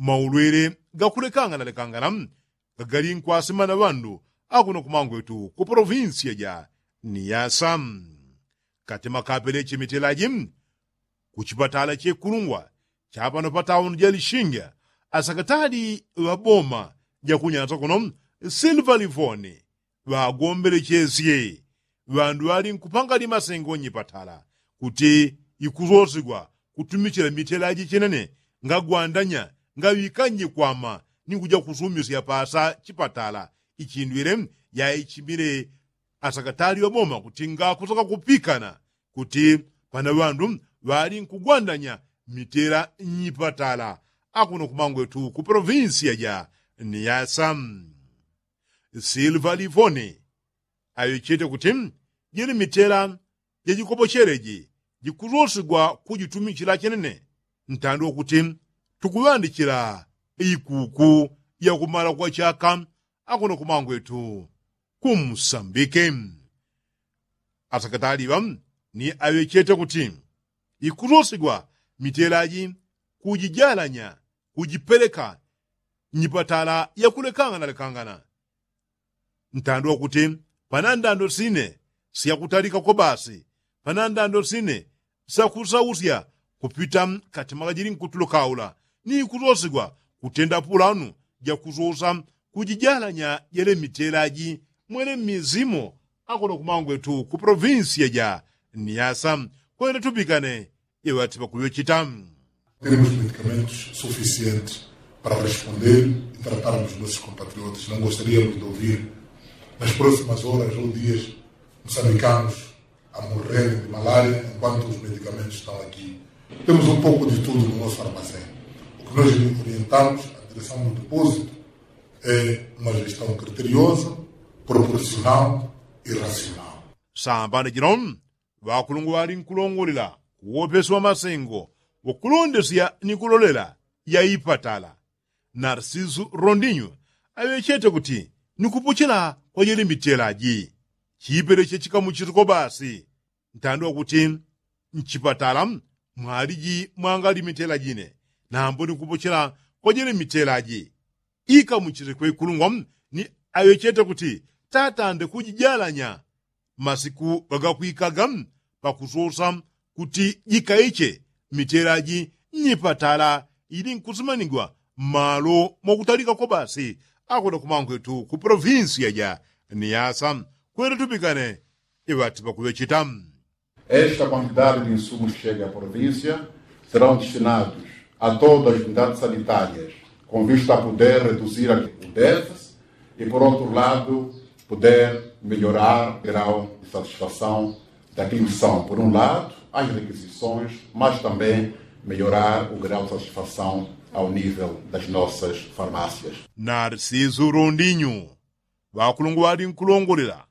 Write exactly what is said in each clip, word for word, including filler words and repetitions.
maulwele gakulekangana lekangana gagali nkwasima na ŵandu akuno kumangwetu ku polovinsiya ja niyasa. Kati makapeleche mitelaji ku chipatala chekulungwa chapano patauni ja lishinga, asakatali ŵaboma jakunyasa kuno silva livoni ŵagombelechesye ŵandu ŵali nkupanga limasengo nyipatala kuti ikusosigwa kutumichila mitelaji chinene ngagwandanya ngaŵikanye kwama ni kuja kusumisya pasa chipatala ichindwile yaichimile asakatali ŵaboma kuti ngakusaka kupikana kuti pana ŵandu ŵali nkugwandanya mitela nyipatala akuno kumangwetu ku polovinsiya ja niyasa. Silva livoni aŵechete kuti jili mitela jajikopocheleji jikusosigwa kujitumichila chenene ntandwa kuti tukuŵandichila ikuku yakumala kwa chaka akuno kumangwetu ku msambike. Asakatali ŵa ni aŵechete kuti ikusosigwa mitelaji kujijalanya kujipeleka nyipatala yakulekangana lekangana ntandwa kuti pana ndando sine syakutalika kobasi pana ndando sine syakusausya kupita kati makajili nkutulo kaula ni kusosigwa kutenda pulanu jakusosa kujijalanya jele mitelaji mwele mizimo akuno kumangwetu ku polovinsiya ja niyasa kwenda tupikane iŵati ŵakuŵechita. Temos medicamentos suficientes para responder e tratarmos nossos compatriotas. Não gostaríamos de ouvir nas próximas horas ou dias moçambicanos a morrerem de malária enquanto os medicamentos estão aqui. Temos um pouco de tudo no nosso armazém. O que nós orientamos a direção do depósito é uma gestão criteriosa, proporcional e racional. Sambana jino ŵakulungwa ŵali nkulongolela kuwopesi wa masengo wakulondesya ni kulolela ya ipatala narsisu rondinyu aŵechete kuti ni kupochela kwa jele mitelaji chipeleche chikamuchitiko basi ntandwa kuti mchipatala mwaliji mwangali mitelaji ine nambo ni kupochela kwa jele mitelaji ikamuchite kwekulungwa ni aŵechete kuti tatande kujijalanya masiku ŵagakwikaga pakusosa kuti jikaiche mitelaji nyipatala ili nkusimanigwa mmalo mwakutalika kobasi akwenda kumangwetu ku polovinsiya ja niyasa kwenda tupikane iŵati ŵakuŵechita. Esta quantidade de insumos chega à província serão destinados a todas as unidades sanitárias com vista a poder reduzir o déficit e por outro lado poder melhorar o grau de satisfação daquilo que são por um lado as requisições mas também melhorar o grau de satisfação ao nível das nossas farmácias. Narsisu rondinyu ŵakulungwa ŵali nkulongolela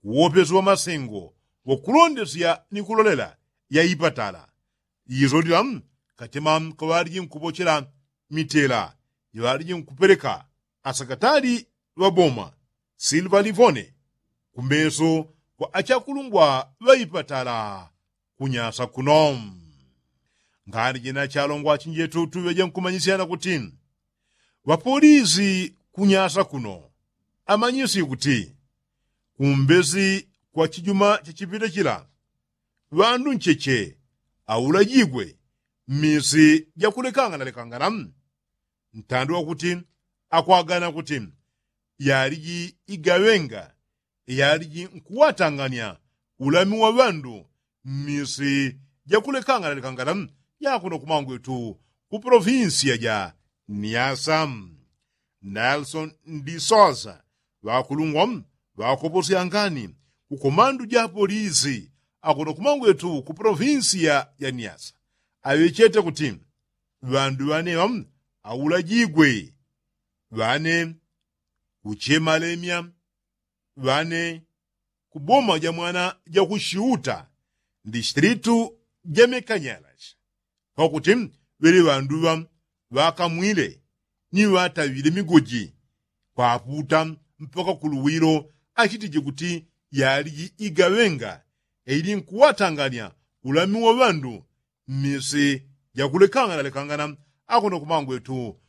kuwopesi wa masengo wakulondesya ni kulolela ya ipatala isolila katima kaŵaliji nkupochela mitela iŵaliji nkupeleka asakatali ŵaboma silva livone kumeso kwa achakulungwa ŵaipatala kunyasa kuno. Ngani jina chalongwa achinjetu tuŵeje nkumanyisyana kuti ŵapolisi kunyasa kuno amanyisye kuti kumbesi kwa chijuma chachipita chila ŵandu ncheche aulajigwe mmisi jakulekangana lekangana ntandi wakuti akwagana kuti yaliji igaŵenga yaliji nkuwatangania ulami wa ŵandu mmisi jakulekangana lekangana yakuno kumangwetu ku polovinsiya ja niyasa. Nelsoni ndi sosa ŵakulungwa ŵakoposyangani ku komandu ja polisi akuno kumangwetu ku polovinsiya ja niyasa aŵechete kuti ŵandu ŵaneŵa aulajigwe ŵane kuchemalemya ŵane ku boma ja mwana ja ku shiuta distritu ja mekanyalashi pakuti ŵele ŵanduŵa ŵakamwile ni ŵataŵile migoji kwaputa mpaka ku luwilo achitije kuti yaliji igaŵenga ili nkuwatangania ulami wa ŵandu mmisi jakulekangana lekangana akuno kumangwetu